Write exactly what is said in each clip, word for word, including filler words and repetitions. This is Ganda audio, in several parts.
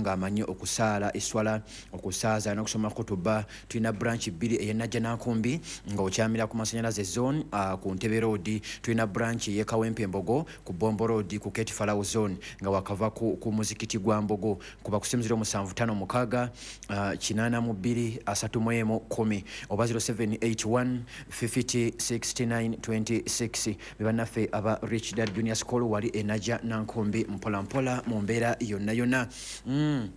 ng'amanyi okusaala eswala, okusaaza n'okusoma kutuba. Tulina branch bbiri, ey'e Najjanankumbi ng'okyamira ku Masanyalaze Zone, uh, ku Ntebe Road. Tulina branch ey'e Kawempe Mbogo ku Bombo Road, ku Keti Falawo Zone, nga wakava ku, ku muzikiti gwa Mbogo. Kuba ku simu zero seven five six uh, eight two three one ten oba zero seven eight one fifty sixty-nine twenty-six. Bebannaffe aba Rich Dad Junior School wali e Najjanankumbi. Mpola mpola mu mbeera yonna yonna. mm.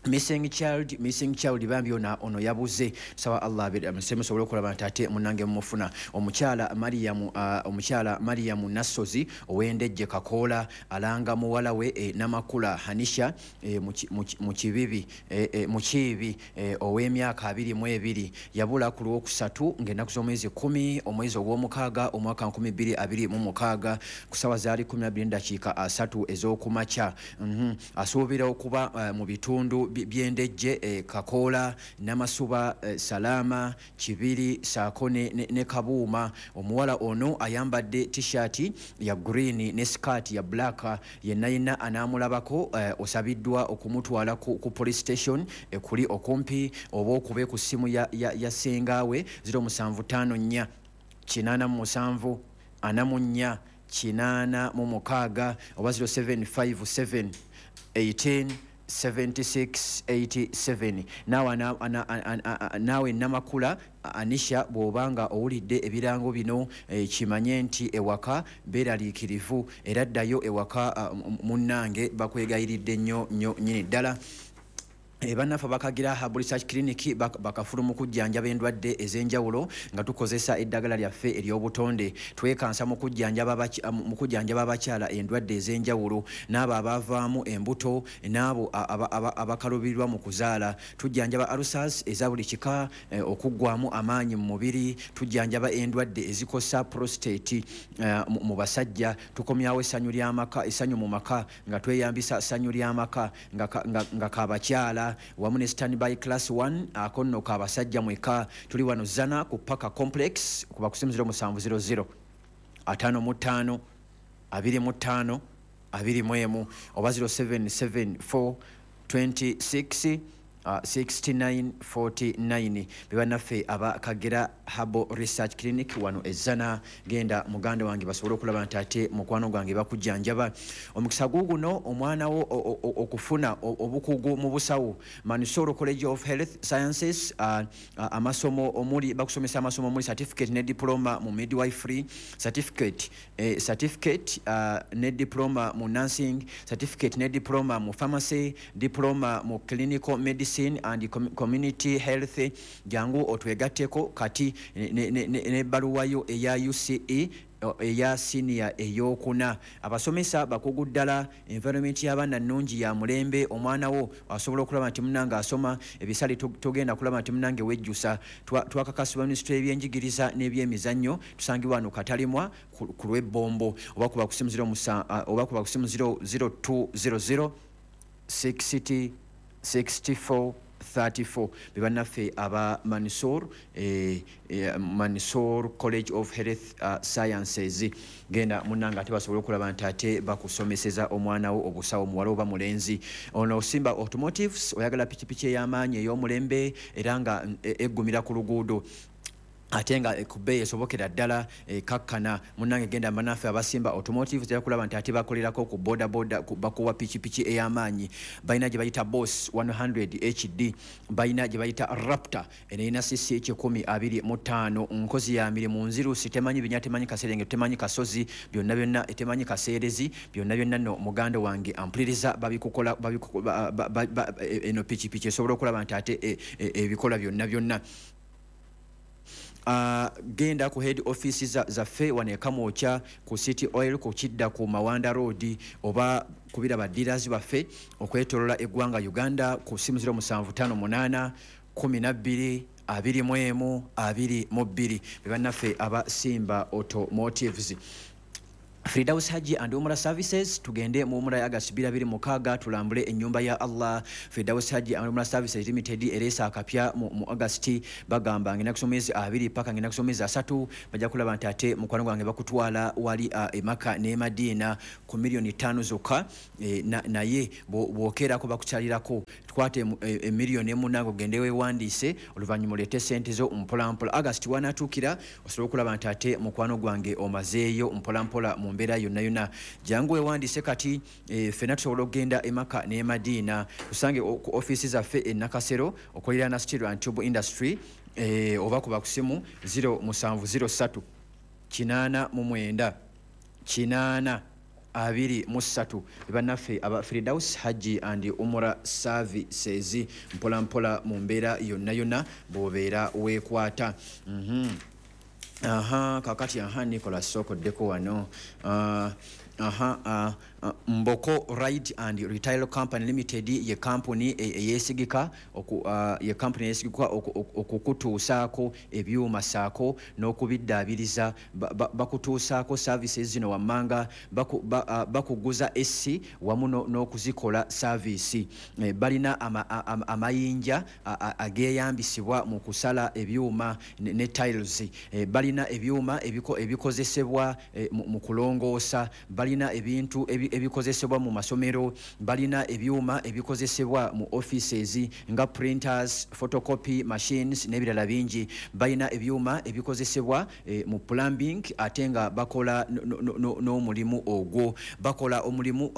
Missing child, missing child, bambi ono ono yabuze. Saba Allah abe musobole okulaba nti ate munange mumufuna. Omukyala Mariyamu, uh, omukyala Mariyamu Nassozi ow'Endejje Kakoola alanga muwala we e, Namakula Hanisha e, mu Kibibi, e, e, mu Kiibi, e, ow'emyaka abiri mu ebiri. Yabula ku Lwokusatu ng'ennaku z'omwezi kumi omwezi ogw'omukaaga omwaka nkumi bbiri abiri mu mukaaga ku ssaawa zaali kumi na bbiri dakiika asatu ez'okumakya. mm -hmm. Asuubira okuba uh, mu bitundu by'Endejje, eh, Kakoola, Namasuba, eh, Salaama, Kibiri saako ne, ne, ne Kabuuma. Omuwala ono ayambadde T-shirt ya green ne skirt ya black. Yenna yenna anaamulabako, eh, osabiddwa okumutwala ku, ku police station ekuli okumpi oba okube ku ssimu ya, ya, ya sengaawe zero seven five four eight seven four four eight six oba zero seven five seven eighteen seventy-six eighty-seven. Naawe naawe Namakula Anisha, bw'obanga owulidde ebirango bino, eh, kimanye nti ewaka beeraliikirivu era ddayo ewaka, munnange, bakwegayiridde nnyo nnyo nnyini ddala. E, bannaffe bakagira Herbal Research Clinic bakafulu mu kujjanjaba endwadde ez'enjawulo nga tukozesa eddagala lyaffe ery'obutonde. Twekansa mu kujjanjaba abakyala endwadde ez'enjawulo, n'abo abavaamu embuto, n'abo abakalubirirwa mu kuzaala. Tujjanjaba ulcers eza buli kika, eh, okuggwamu amaanyi mu mubiri. Tujjanjaba endwadde ezikosa prostate eh, mu basajja. Tukomyawo essanyu ly'amaka, essanyu mu maka, nga tweyambisa ssanyu ly'amaka nga kabakyala wamu ne Standby Class one, ako nno kabasajja mweka. Tuli wano Zana ku Paka Complex. Kuba ku simu zero seven zero zero five five twenty-five twenty-one oba zero seven seven four twenty-six uh, sixty-nine forty-nine. Bebannaffe aba Kagera Herbal Research Clinic wano Ezana. Genda muganda wange, basobole okulaba nti ate mukwano gwange bakujjanjaba. Omukisa guguno omwana wo okufuna obukugu mu busawo. Mansoro College of Health Sciences, uh, uh, amasomo omuli, bakusomesa amasomo omuli certificate ne diploma mu midwifery, certificate, eh, certificate uh, ne diploma mu nursing, certificate ne diploma mu pharmacy, diploma mu clinical medicine and community health. Jangu otwegatteko kati n'ebbaluwayo eya U C E eya siniya eyokuna. Abasomesa bakugu ddala. Environment y'abaana nnungi, ya mulembe. Omwana wo asobola okulaba nti munange asoma ebisale, togenda kulaba nti munange wejjusa. Twakakasibwa minisitule y'ebyenjigiriza n'ebyemizannyo. Tusangibwa wano Katalimwa ku lw'Ebbombo oba kuba ku simu oba kuba ku simu zero two zero zero sixty sixty-four thirty-four. Bebannaffe aba Mansur, eh, eh, Mansur College of Health uh, Sciences. Genda munanga ate basobole okulaba nti ate bakusomeseza omwana wo obusawo, muwala oba mulenzi. Ono Simba Automotives, oyagala pikipiki ey'amaanyi, ey'omulembe, era nga eggumira ku luguudo ate nga ku bbeeyi esobokera ddala, kakkana munnange, genda manaffe abasimba Automotive. Era kulaba nti ate bakolerako ku boda boda, bakuwa pikipiki ey'amaanyi. Balina gye bayita Boss one hundred H D, balina gye bayita Raptor, eno erina C C kikumi abiri mu ttaano, nkozi ya mirimu, nzirusi, temanyi binya, temanyi kaserenge, temanyi kasozi, byonna byonna, temanyi kaseerezi, byonna byonna nno muganda wange ampuliriza, babikukola. Eno pikipiki esobola okulaba nti ate ebikola byonna byonna. Uh, genda ku head office zaffe wano eKamwokya ku City Oil, ku kidda ku Mawanda Road, oba kubira ba dealers baffe okwetolola eggwanga Uganda ku simu zero seven five eight twelve twenty-one twenty-two. Be bannaffe aba Simba Automotives. Firdaus Hajji and Umrah Services, tugende mu umrah ya August bbiri abiri mukaaga tulambule ennyumba ya Allah. Firdaus Hajji and Umrah Services Limited ereesa akapya mu, mu August. Bagamba ngenda kusoma emyezi abiri paka ngenda kusoma emyezi asatu, bajja kulaba nti ate mukwano gwange bakutwala wali uh, e Makka ne Madina ku miliyoni ttaano zokka. e, na, naye bw'okeerako bakukyalirako, tukwate emiliyoni emu nange ogende weewandiise, oluvannyuma oleete ssente zo mpolampola. August wanaatuukira osobola okulaba nti ate mukwano gwange omazeeyo mpolampola mu mbeera yonna yonna. Jangu weewandiise kati, e, ffenna tusobola okugenda e Makka ne Madiina. Tusange ku ofiisi zaffe e Nakasero okuliraana Steel and Tube Industry, e, oba kuba ku simu zero musanvu zero ssatu kinaana mu mwenda kinaana abiri mu ssatu. Bannaffe aba Firdaus Hajji and Umrah Services, mpola mpola mu mbeera yonna yonna bw'obeera weekwata. mm -hmm. Aha, kakati aha Nicholas sokoddeko wano. uh, aha uh, uh, Mboko Ride and Retail Company Limited ye kampuni eyeesigika oku, uh, ye kampuni eyeesigika okukutuusaako ebyuma saako n'okubiddaabiriza. Bakutuusaako services zino wammanga: bakuguza A C wamu n'okuzikola service. E, balina amayinja ageeyambisibwa mu kusala ebyuma ne, ne tiles. E, balina ebyuma ebikozesebwa e, mu kulongoosa, balina ebintu ebikozesebwa mu masomero, balina ebyuma ebikozesebwa mu offices nga printers, photocopy machines n'ebirala bingi. Balina ebyuma ebikozesebwa e, mu plumbing, ate nga bakola n'omulimu ogwo, bakola omulimu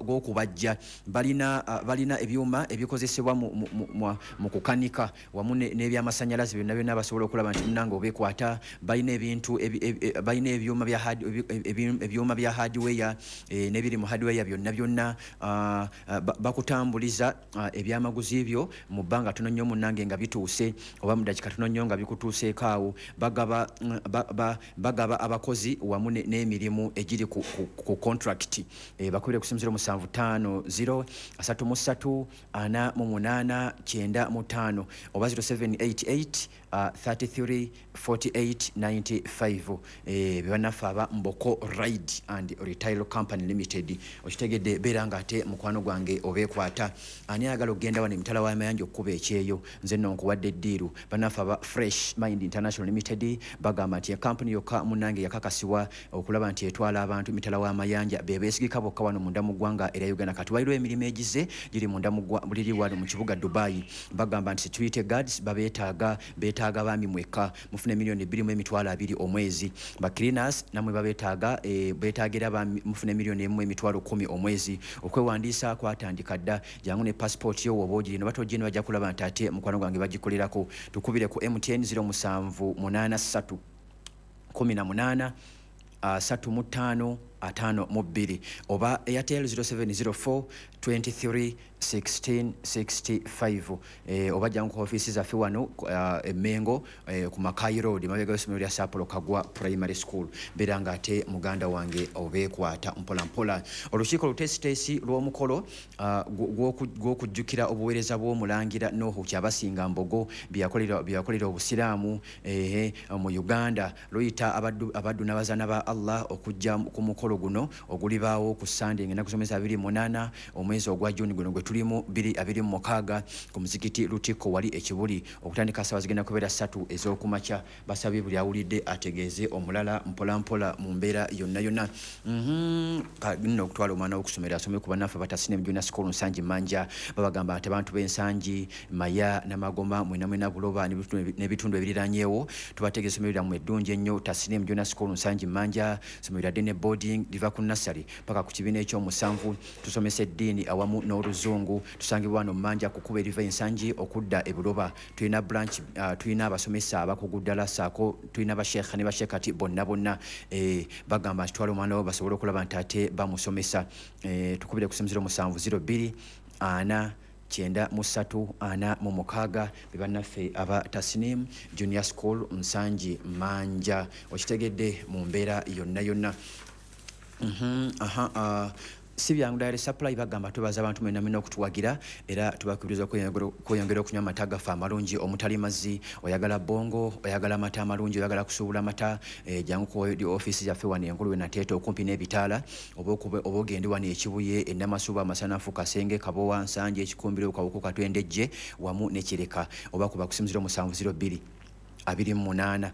gw'okubajja. Balina balina ebyuma ebikozesebwa mu, mu, mu, mu kukanika wamu n'ebyamasannyalaze byonna byonna basobola okulaba nti munnange obeekwata. Balina ebintu balina ebyuma bya ebyuma bya hardware e, n'ebiri mu hardware byonna byonna. Bakutambuliza ebyamaguzi byo mu bbanga tono nnyo munnange nga bituuse, oba mu dakiika tono nnyo nga bikutuuseeko awo. Bagaba, ba, bagaba abakozi wamu n'emirimu egiri ku, ku, ku contract. E, bakubire ku simu zero musanvu ttaano zero asatu mu ssatu ana mu munaana kyenda mu ttaano oba zero seven eight eight uh, thirty-three forty-eight ninety-five. E, bannaffe aba Mboko Ride and Retail Company Limited. Okitegedde, beera nga ate mukwano gwange obeekwata. Ani ayagala okugenda wano emitala w'amayanja okkuba ekyeyo? Nze nno nkuwadde eddiiru. Bannaffe aba Fresh Mind International Limited bagamba nti ekampuni yokka munnange yakakasibwa okulaba nti etwala abantu emitala w'amayanja, be beesigika bokka wano munda mu ggwanga erya Uganda. Kati waliwo emirimu egize giri munda mu liri wano mu kibuga Dubai. Bagamba nti security guards babeetaaga, beetaaga baami mwekka, mufune miliyoni bbiri mu emitwalo abiri omwezi. Ba cleaners namwe babeetaaga, e, beetaagira mufune miliyoni emu emitwalo kkumi omwezi. Okwewandiisa kwatandika dda, jangu ne passport yo woba ogirina, oba togirina bajja kulaba nti ate mukwano gwange bagikolerako. Tukubire ku M T N zero musanvu munaana ssatu kumi na munaana asatu mu ttaano ataano mu bbiri oba Airtel zero seven zero four twenty-three sixteen sixty-five. E, oba jangu ku ofiisi zaffe wano uh, e Mengo e, ku Makai Road mabega w'essomero lya Sapporo Kagwa Primary School. Beera nga ate muganda wange obeekwata mpola mpola. Olukiiko oluteesiteesi lw'omukolo uh, gw'okujjukira obuweereza bw'omulangira Nuhu Kyabasinga Mbogo bye yakolera Obusiraamu eh, mu Uganda luyita abaddu, abaddu n'abazaana ba Allah okujja ku mukolo guno ogulibaawo ku Sande ng'ennaku z'omwezi abiri munaana omwezi ogwa Juni guno gwe tulimu bbiri abiri mu mukaaga ku muzikiti Lutikko wali e Kibuli, okutandika ssaawa zigenda kubeera ssatu ez'okumakya. Basabye buli awulidde ategeeze omulala mpola mpola mu mbeera yonna yonna. Nno okutwala omwana w'okusomera asome ku bannaffe Abatasine Junior School Nsangi Manja. Babagamba nti abantu b'Ensangi, Maya, Namagoma, mwena mwena Buloba n'ebitundu ebiriranyeewo, tubategeeza essomero lyammwe eddungi ennyo Tasine Junior School Nsangi Manja, essomero lya day boarding liva ku nursery paka ku kibiina ekyomusanvu. Tusomesa eddiini awamu n'oluzungu. Tusangibwa wano Manja ku kkubo eriva Ensangi okudda e Buloba. Tulina branch, uh, tulina abasomesa abakugu ddala ssaako tulina basheekha ne basheekati bonna bonna. E, bagamba nti twala omwana wo basobole okulaba nti ate bamusomesa. E, tukubire ku simu zero musanvu zero bbiri ana kyenda mu ssatu ana mu mukaaga be bannaffe aba Tasnim Junior School Nsangi Manja. Okitegedde mu mbeera yonna yonna. Mm-hmm, aha, uh, Si Byangu Dairy Supply bagamba tubaza abantu mwenna mwenna okutuwagira, era tubakubiriza okweyongera okunywa amata gaffe amalungi omutali mazzi. Oyagala bongo, oyagala amata amalungi, oyagala kusuubula amata, eh, jangu ku ofiisi yaffe wano enkulu we Nateete okumpi n'ebitaala, oba ogende wano Ekibuye, Enamasuba, Amasanafu, Kasenge, Kabowa, Nsanje, Ekikumbiro, Kawuku, Katwendejje wamu ne Kireka, oba kuba ku simu zero musanvu zero bbiri abiri mu munaana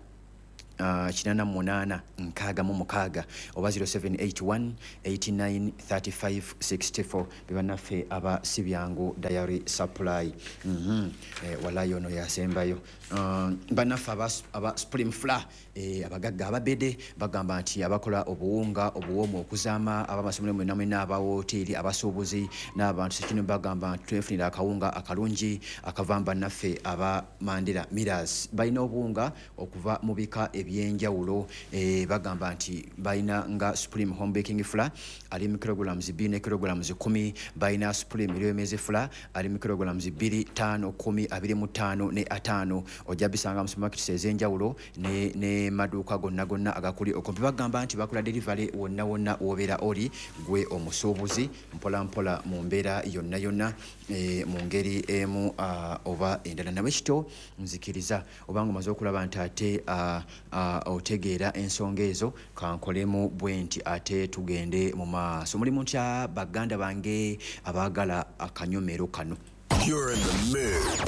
kinana munaana nkaaga mu mukaaga oba zero seven eight one eighty nine thirty five sixty four. Bebannaffe aba Si Byangu Dairy Supply. mm-hmm. eh, walayo ono yasembayo. uh, bannaffe aba, aba Supreme Flour, eh, abagagga ababede bagamba nti abakola obuwunga obuwoomu okuzaama, abamasomero mwenna mwenna, abawoteeri, abasuubuzi n'abantu sekino bagamba nti twefunira akawunga akalungi akava mu bannaffe aba Mandela Millers. Balina obuwunga okuva mu bika ebyenjawulo, eh, bagamba nti balina nga Supreme Home Baking Flour ali mu kilograms bbiri ne kilograms kumi, balina Supreme Lyomezi Flour ali mu kilograms bbiri, ttaano, kumi, abiri mu ttaano ne ataano. Ojja bisanga mu supermarkets ez'enjawulo ne, ne maduuka gonna gonna agakuli okumpi. Bagamba nti bakola delivery wonna wonna w'obeera oli gwe omusuubuzi, mpola mpola mu mbeera yonna yonna, e, mu ngeri emu uh, oba endala. Nawe kito nzikiriza obanga omaze okulaba nti ate uh, uh, otegeera ensonga ezo, kankolemu bwe nti ate tugende mu maaso. Mulimu ntya baganda bange abaagala akanyomero kano? You're in the mix.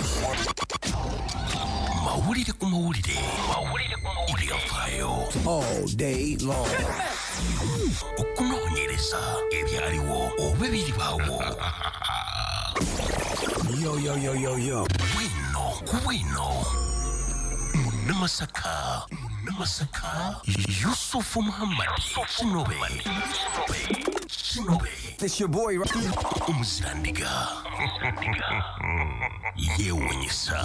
Mawulire ku mawulire. Mawulire ku mawulire. Ebyafaayo. All day long. Okunoonyereza ebyaliwo oba ebiribaawo. Yo, yo, yo, yo, yo. Bwino ku bwino. Munnamasaka. Munnamasaka. Yusufu Muhammad. Kinobe. Kinobe. It's your boy. Omuzirandiga. Yeewuunyisa.